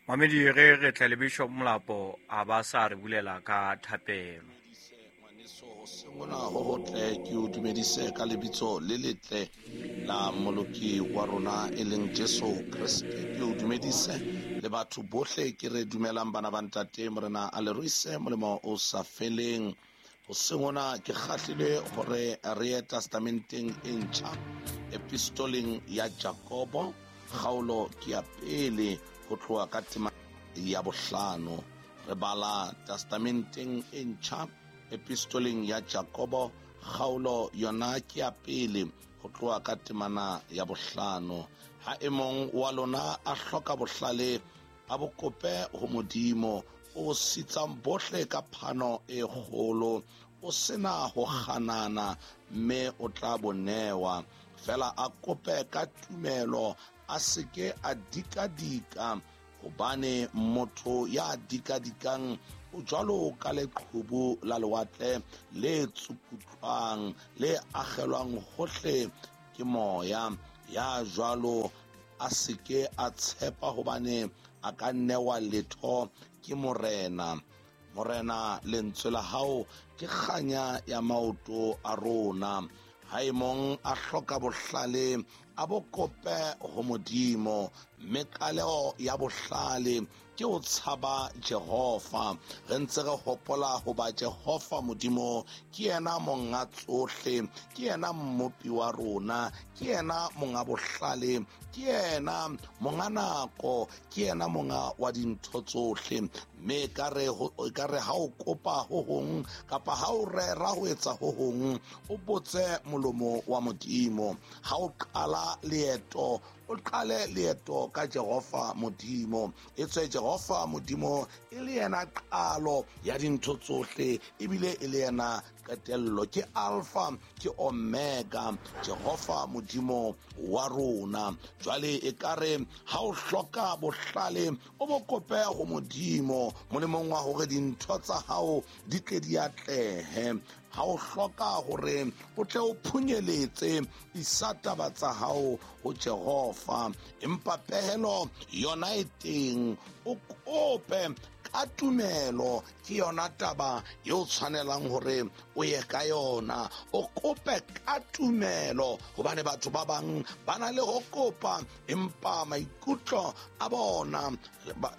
Mamedi re re tle le Bishop Molapo a ba sa re bulela ka thapelo. Ngwaneso hoseng hona ho hotle, ke o dumedise ka lebitso le letle la Moloki wa rona e leng Jesu Kreste. Ke o dumedise le batho bohle ke re dumelang bana ba ntate Morena a le ruise molemo o sa feleng. Hoseng hona ke kgahlilwe hore re ye testamenteng e ntjha, epistoleng ya Jakobo, kgaolo ke ya pele ho tloha ka tema ya bohlano. Re bala testamenteng e ntjha, epistoleng ya Jakobo, kgaolo yona ke ya pele ho tloha ka temana ya bohlano. Ha e mong wa lona a hloka bohlale, a bo kope ho Modimo, o sitsang bohle ka phano e kgolo, o sena ho kganana, mme o tla bo newa. Fela a kope ka tumelo, a seke a dikadika, hobane motho ya dikadikang o jwalo ka leqhubu la lewatle le tsukutlwang, le akgelwang hohle ke moya. Ya jwalo a seke a tshepa hobane a ka newa letho ke Morena. Morena, lentswe la hao ke kganya ya maoto a rona. Ha e mong a hloka bohlale, a bo kope ho Modimo, mme qaleho ya bohlale ke ho tshaba Jehova. Re ntse re hopola hoba Jehova Modimo ke yena monga tsohle, ke yena mmopi wa rona, ke yena monga bohlale, ke yena monga nako, ke yena monga wa dintho tsohle. Mme ekare ha o kopa ho hong kapa ha o rera ho etsa ho hong, o botse molomo wa Modimo. Ha o qala leeto, o qale leeto ka Jehova Modimo. Etswe Jehova Modimo e le yena qalo ya dintho tsohle, ebile e le yena qetello. Ke Alpha, ke Omega, Jehova Modimo wa rona. Jwale ekare ha o hloka bohlale, o bo kope ho Modimo, molemong wa hore dintho tsa hao di tle di atlehe. Ha o hloka hore o tle o phunyeletse, isa taba tsa hao ho Jehova. Empa pehelo yona e teng, o kope ka tumelo, ke yona taba eo tshwanelang hore o ye ka yona. O kope ka tumelo, hobane batho ba bang ba na le ho kopa, empa maikutlo a bona,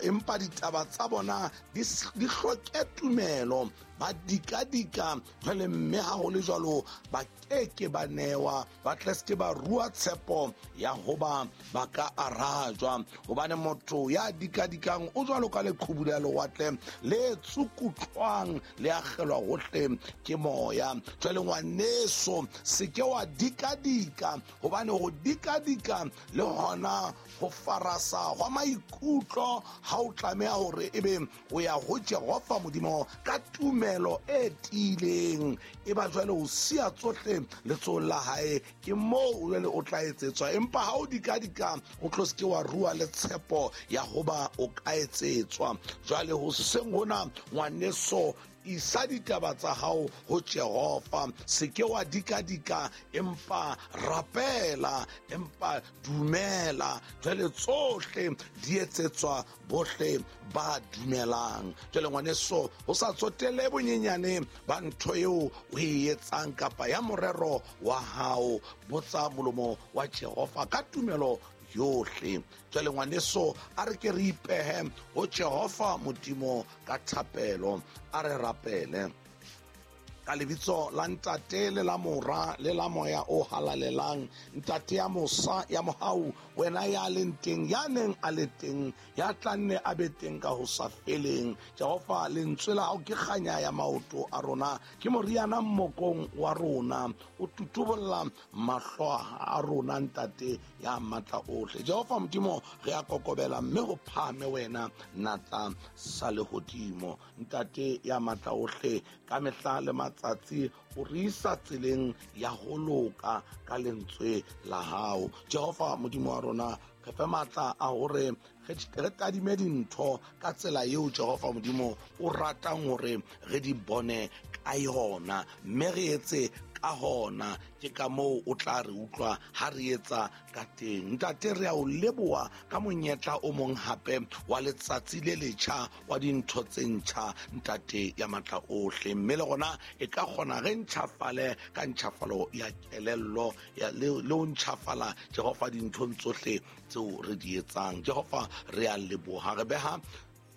empa ditaba tsa bona di hloke tumelo, ba dikadika. Jwale mme ha ho le jwalo, ba keke ba newa, ba tle se ke ba rua tshepo ya hoba ba ka arajwa. Hobane motho ya dikadikang o jwalo ka leqhubu la lewatle le tsukutlwang, le akgelwa hohle ke moya. Jwale ngwaneso, se ke wa dikadika, hobane ho dikadika le hona ho farasa hwa maikutlo ha o tlameha hore ebe o ya ho Jehova Modimo ka tumelo e tiileng. E ba jwale o siya tsohle letsohong la hae, ke moo jwale o tla etsetswa. Empa ha o dikadika, o tlo se ke wa rua le tshepo ya hoba o ka etsetswa. Jwale hoseng hona, ngwaneso, isa ditaba tsa hao ho Jehova. Se ke wa dikadika, empa rapela, empa dumela. Jwale tsohle di etsetswa bohle ba dumelang. Jwale ngwaneso, ho sa tsotelle bonyenyane ba ntho eo o e etsang kapa ya morero wa hao, botsa molomo wa Jehova ka tumelo yohle. Jwale ngwaneso, a re ke re ipehe ho Jehova Modimo ka thapelo. A re rapele. Ka lebitso la Ntate le la Mora le la Moya o Halalelang, Ntate ya mosa ya mohau, wena ya leng teng, ya neng a le teng, ya tla nne a be teng ka ho sa feleng. Jehova, lentswe la hao ke kganya ya maoto a rona, ke moriana mmokong wa rona, o tutubolla mahlo a rona, Ntate ya matla ohle. Jehova Modimo, re a kokobela mme ho phahame wena natla sa lehodimo. Ntate ya matla ohle, ka mehla le matsatsi o re isa tseleng ya ho loka ka lentswe la hao. Jehova Modimo wa rona, re fe matla a hore re tadime dintho ka tsela eo Jehova Modimo o ratang hore re di bone ka yona, mme re etse ka hona. Ke ka moo o tla re utlwa ha re etsa ka teng. Ntate, re a o leboha ka monyetla o mong hape wa letsatsi le letjha, wa dintho tse ntjha, Ntate ya matla ohle. Mme le rona e ka kgona re ntjhafale ka ntjhafalo ya kelello le ho ntjhafala, Jehova, dinthong tsohle tseo re di etsang. Jehova, re a leboha. Re beha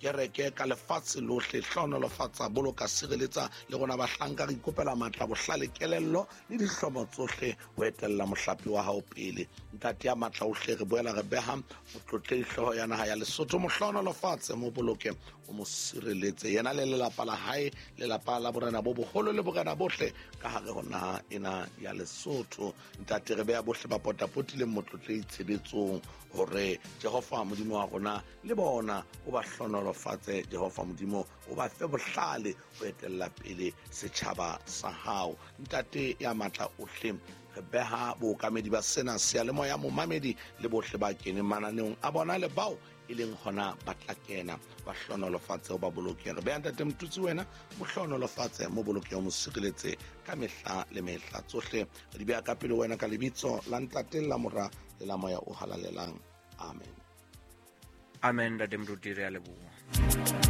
kereke ka lefatshe lohle. Hlohonolofatsa, boloka, sireletsa le rona bahlanka. Re ikopela matla, bohlale, kelello le dihlomo tsohle ho etella mohlape wa hao pele, Ntate ya matla ohle. Re boela re beha motlotlehi hlooho ya naha ya Lesotho. Mo hlohonolofatse, mo boloke, o mo sireletse, yena le lelapa la hae, lelapa la borena bo boholo le borena bohle ka hare ho naha ena ya Lesotho. Ntate, re beha bohle ba potapotileng motlotlehi tshebetsong, hore Jehova Modimo wa rona le bona o ba hlohonolofatse. Jehova Modimo, o ba fe bohlale ho etella pele setjhaba sa hao. Ntate ya matla ohle, re beha bookamedi ba sena seyalemoya, momamedi le bohle ba keneng mananeong a bona le bao e leng hona ba tla kena, ba hlohonolofatse, o ba boloke. Re beha Ntate Motutsi, wena mo hlohonolofatse, mo boloke, o mo sireletse ka mehla le mehla. Tsohle re di beha ka pele wena ka lebitso la Ntate, la Mora le la Moya o Halalelang. Amen. Amen. Ntate Moruti, re a leboha.